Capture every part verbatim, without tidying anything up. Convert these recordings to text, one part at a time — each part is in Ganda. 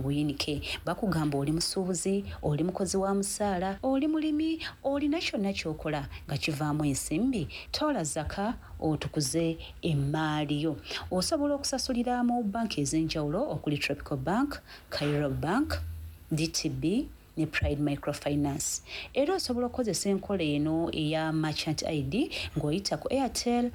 Mu buyinike bakugamba oli musuubuzi, oli mukozi wa musaala, oli mulimi, olina kyonna ky'okola nga kivaamu ensimbi, toola zaka otukuze emmaali yo. Osobola okusasulira mu banki ez'enjawulo okuli Tropical Bank, Cairo Bank, D T B ne Pride Microfinance. Era osobola okukozesa enkola eno eya Merchant I D ng'oyita ku Airtel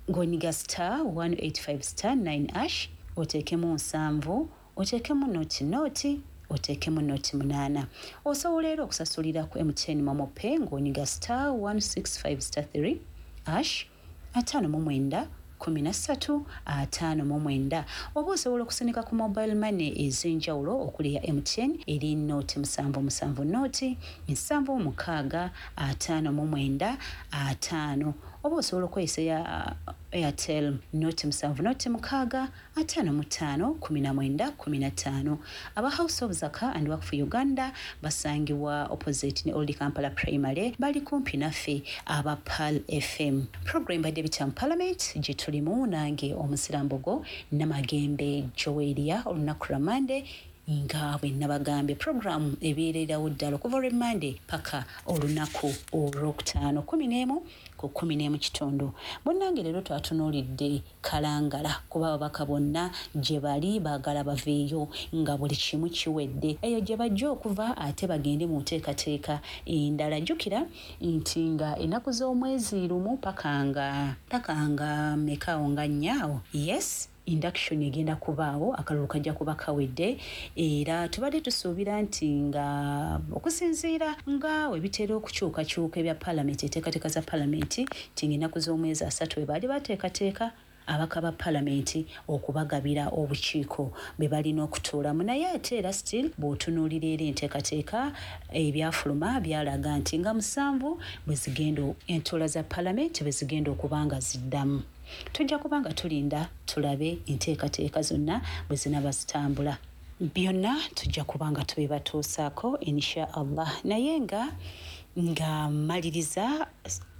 ng'onyiga star one eight five star nine hash, oteekemu nsanvu, oteekemu nought nought, oteekemu nought munaana. Osobola era okusasulira ku M T N MoMo Pay ng'onyiga star one six five star three hash, ataano mu mwenda, kumi na ssatu, ataano mu mwenda, oba osobola okusindika ku mobile money ez'enjawulo okuli ya M T N eri nought musanvu musanvu nought nsanvu mukaaga ataano mu mwenda ataano, oba osobola okukozesa eya Airtel nought musanvu nought mukaaga ataano mu ttaano kumi na mwenda kumi na ttaano. Aba House of Zaka and Waqf Uganda basangibwa opposite ne Old Kampala Primary, bali kumpi naffe aba Pearl F M. Program badde bitya mu Parliament gye tulimu nange Omusirambogo Namagembe Joeria. Olunaku lwa Mande nga bwe nabagambye, puroguramu ebeererawo ddala okuva olw'Emmande paka olunaku Olwokutaano kumi n'emu ku kumi n'emu kitundu. Munnange, leero twatunuulidde Kalangala kuba ababaka bonna gye bali baagala baveeyo nga buli kimu kiwedde eyo gye bajja okuva, ate bagende mu nteekateeka endala. Jjukira nti nga ennaku z'omwezi lumu paka nga paka nga mekaawo nga nnyaawo, yes, induction egenda kubaawo, akalulu kajja kuba kawedde. Era tubadde tusuubira nti nga okusinziira nga we bitera okukyukakyuka ebya paalamenti, enteekateeka za paalamenti, nti ng'ennaku z'omwezi asatu we baali bateekateeka abaka ba paalamenti okubagabira obukiiko bwe balina okutuulamu. Naye ate era still bw'otunuulira era enteekateeka, ebyafuluma byalaga nti nga musanvu bwe zigenda entuula za paalamenti bwe zigenda okuba nga ziddamu. Tujja kuba nga tulinda tulabe enteekateeka zonna bwe zinaaba zitambula. Byonna tujja kuba nga tubibatuusaako insha Allah. Naye nga nga maliriza,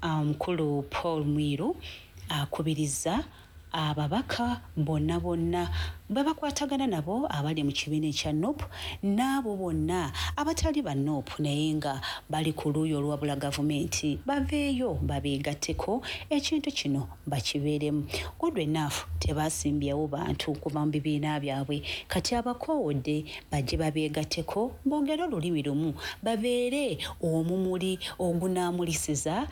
omukulu um, Paul Mwiru akubiriza ababaka bonna bonna bwe bakwatagana nabo abali mu kibiina ekya NUP n'abo bonna abatali ba NUP naye nga bali ku luuyi oluwabula gavumenti, baveeyo babeegatteko, ekintu kino bakibeeremu. Good enough, tebasimbyewo bantu kuva mu bibiina byabwe. Kati abakoowodde bajje babeegatteko, boogere olulimi lumu, babeere omumuli ogunaamulisiza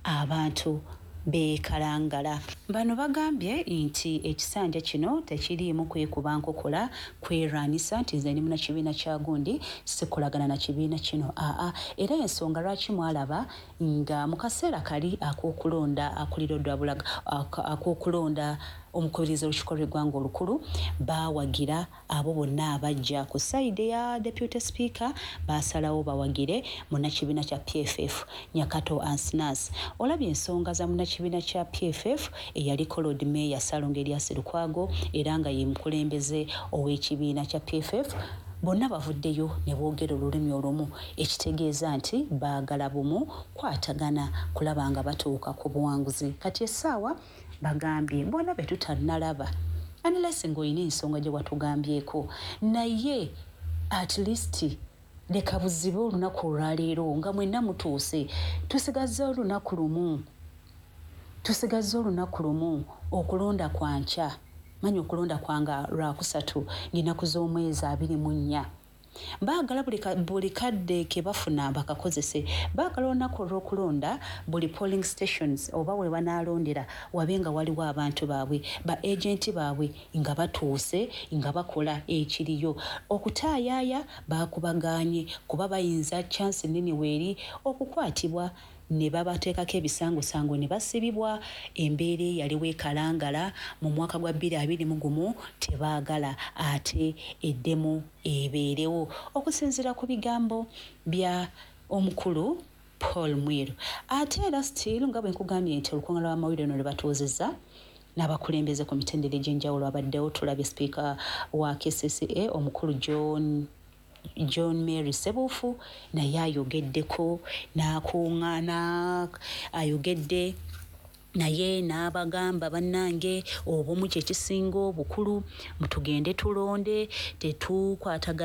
abantu beekalangala. Bano bagambye nti ekisanja kino tekiriimu kwekuba nkokola, kwerwanisa nti nze ndi munakibiina kya gundi, sikolagana na kibiina kino. Aa, era ensonga lwaki mwalaba nga mu kaseera kali ak'okulonda akulira odwabulaga, ak'okulonda omukubiriza olukiiko lw'eggwanga olukulu, baawagira abo bonna abajja ku side ya deputy speaker, baasalawo bawagire munnakibiina kya P F F Nyakato Ananias. Olabye ensonga za munnakibiina kya P F F eyaliko Lord Mayor Ssalongo Erias Lukwago, era nga ye mukulembeze ow'ekibiina kya P F F. Bonna bavuddeyo ne boogera olulimi olumu, ekitegeeza nti baagala bumu, kwatagana kulaba nga batuuka ku buwanguzi. Kati essaawa bagambye bonna be tutannalaba, unless ng'olina ensonga gye watugambyeko, naye at least leka buzibe olunaku olwaleero nga mwenna mutuuse. Tusigazze olunaku lumu, tusigazze olunaku lumu. Okulonda kwankya, manya okulonda kwanga lwakusatu ng'ennaku z'omwezi abiri mu nnya. Baagala buli kadde ke bafuna bakakozese. Baagala olunaku olw'okulonda buli polling stations oba we banaalondera wabe nga waliwo abantu baabwe, ba agenti baabwe nga batuuse, nga bakola ekiriyo. Okutaayaaya baakubagaanye kuba bayinza chance nene weeri okukwatibwa ne babateekako ebisangosango ne basibibwa. Embeera eyaliwo ekalangala mu mwaka gwa bbiri abiri mu gumu tebaagala ate eddemu ebeerewo, okusinziira ku bigambo bya omukulu Paul Mwiru. Ate era still nga bwe nkugambye nti olukuŋŋaana lw'amawulire no lwe batuuzizza n'abakulembeze ku mitendera egy'enjawulo abaddewo, tulabye sipiika wa K C C A omukulu John John Mary Sebuufu naye ayogeddeko n'akuŋŋaana, ayogedde naye n'abagamba, "Bannange, obumu kye kisinga obukulu, mutugende tulonde, tetukwatagana."